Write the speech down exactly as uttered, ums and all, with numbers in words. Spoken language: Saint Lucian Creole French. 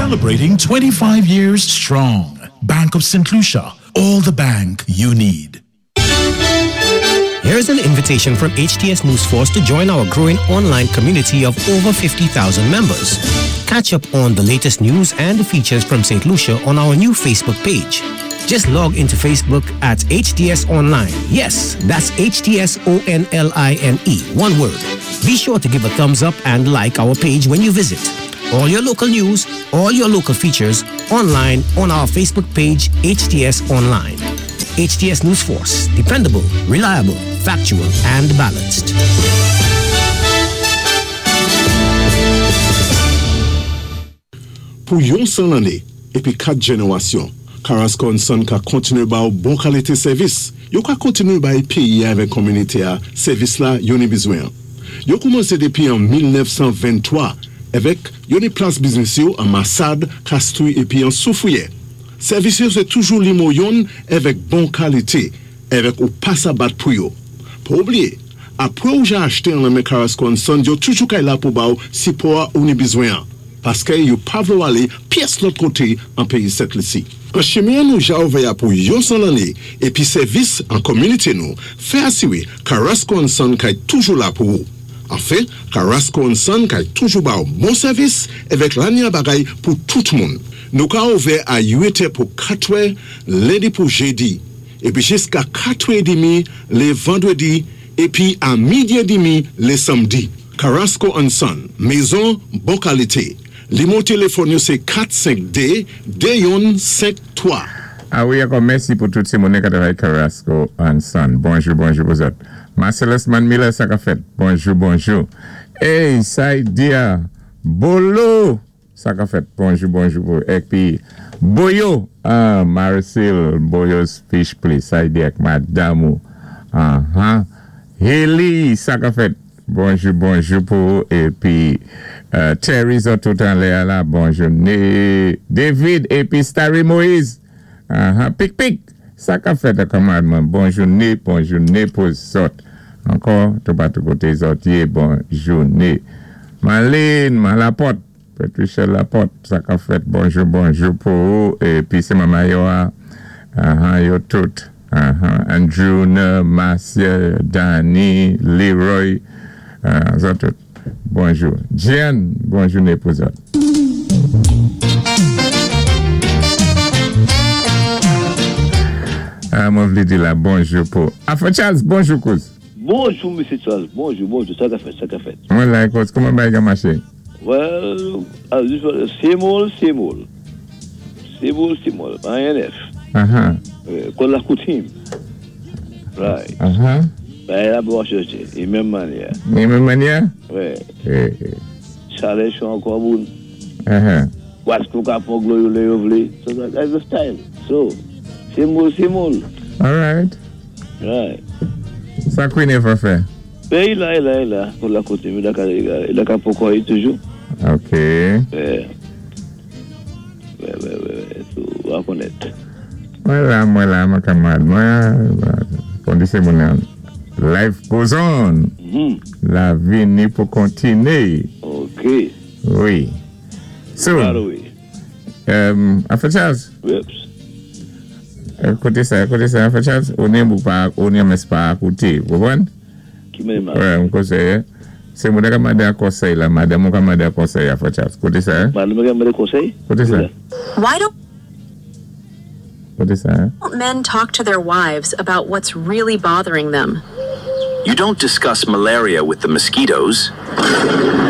Celebrating twenty-five years strong. Bank of Saint Lucia, all the bank you need. Here's an invitation from H T S News Force to join our growing online community of over fifty thousand members. Catch up on the latest news and features from Saint Lucia on our new Facebook page. Just log into Facebook at H T S Online. Yes, that's H T S O N L I N E, one word. Be sure to give a thumbs up and like our page when you visit. All your local news, all your local features, online on our Facebook page, H T S Online. H T S News Force, dependable, reliable, factual, and balanced. Pou yon san lanné, épi kat jénéwasyon, Carrasco and Son ka kontiné ba ou bon kalité sèvis. Yo ka kontiné bay péyi avèk kominité a sèvis la yo ni bizwen. Yo koumansé dépi an mil nèf san venntwa avèk yo ni plas biznis yo an Massade, Castries épi an Soufrière. Sèvis yo sé toujou nimewo youn avèk bon kalité, avèk ou pa sa bat pou yo. Pa oubliyé, apwé ou ja achté an nan men Carrasco and Son, yo toujou kay la pou ba ou sipò ou ni bizwen. Paské yo pa vlé ou alé pyès lòt koté an péyi Sent Lisi. An chimen nou ja ouvè a pou yon san lanné épi sèvis an kominité nou, fè asiwé Carrasco and Son kay toujou la pou ou. Anfen, Carrasco and Son kay toujou ba ou bon sèvis avèk lanya bagay pou tout moun. Nou ka ouvè a uit è pou katwè, lendi pou jédi, épi jiska katwè édmi lé vandwédi, épi a midi édmi lé sanmdi. Carrasco and Son, mézon bon kalité. Nimewo téléfòn yo sé kat senk dé de youn senk twa. A wi, ankò mèsi pou tout sé moun ki travay Carrasco and Son. Bonjou, bonjou pou zòt. Marcellus Man Miller, sa ka fèt. Bonjou, bonjou. Hey, Saidia, Bolo, sa ka fèt. Bonjou, bonjou pou. Épi, Boyo, ah, Marcel, Boyo's Fish Place, Saidia ak madanm ou. Ah, ah. Haley, sa ka fèt. Bonjou, bonjou pou. Épi, euh, Terry, zòt tout anlè la, bonjou. Né, David, épi Starry Moïse. Ah, ah, pik, pik. Sa ka fèt kanmèm. Bonjouné, bonjouné pou zòt. Ankò, tout patou koté zòt yé, bonjouné. Marlene, Malaporte, Patricia Laporte, sa ka fèt, bonjou, bonjou pou ou. Épi sé manman yo, ah, ah, yo tout. Ah, ah, Andrew, Marcia, Danny, Leroy, ah, zòt tout. Bonjou. Jeanne, bonjouné pou zòt. Ah, mwen vlé di la bonjou pou Afro Charles, bonjou kouz. Bonjou, Mesye Charles. Bonjou, bonjou. Sa ka fèt, sa ka fèt. Mwen la kouz, kouman bagay ka maché? Well, as usual, same old, same old. Same old, same old. Anyen nèf. Uh-huh. Euh, Kon la koutim. Right. Uh-huh. Ben, la bon chanje. É menm mannyè. Ni menm mannyè? Wè. Eh, eh. Chalè cho ankò moun. Uh-huh. Wasko ka pran dlo yo lè yo vlé. So that, that's the style. So, same old, same old. All right. Right. Sa Queen Eva fè? Ben, i la, i la, i la. Kon la koutim, i la ka, i la ka poko yi toujou. Ok. Wè. Wè, wè, wè, wè. So, wè konèt. Mwen la, mwen la, mwen kanmad. Mwen, kon di sé moun nan, life goes on. Mhm. Lavi ni pou kontiné. Ok. Wi. So, Right away. um, Afro Charles, Whoops. euh, koté sa, koté sa, Afro Charles, ou ni mou pa, ou ni mès pa akoute, konpwann? Ki men ma? Wè, mwen konsèy, sé moun ka mandé an konsèy la, madanm ou ka mandé an konsèy, Afro Charles. Koté sa, Madanm mwen mande konsèy? Koté sa? Why don't Koté sa? Men talk to their wives about what's really bothering them? You don't discuss malaria with the mosquitoes.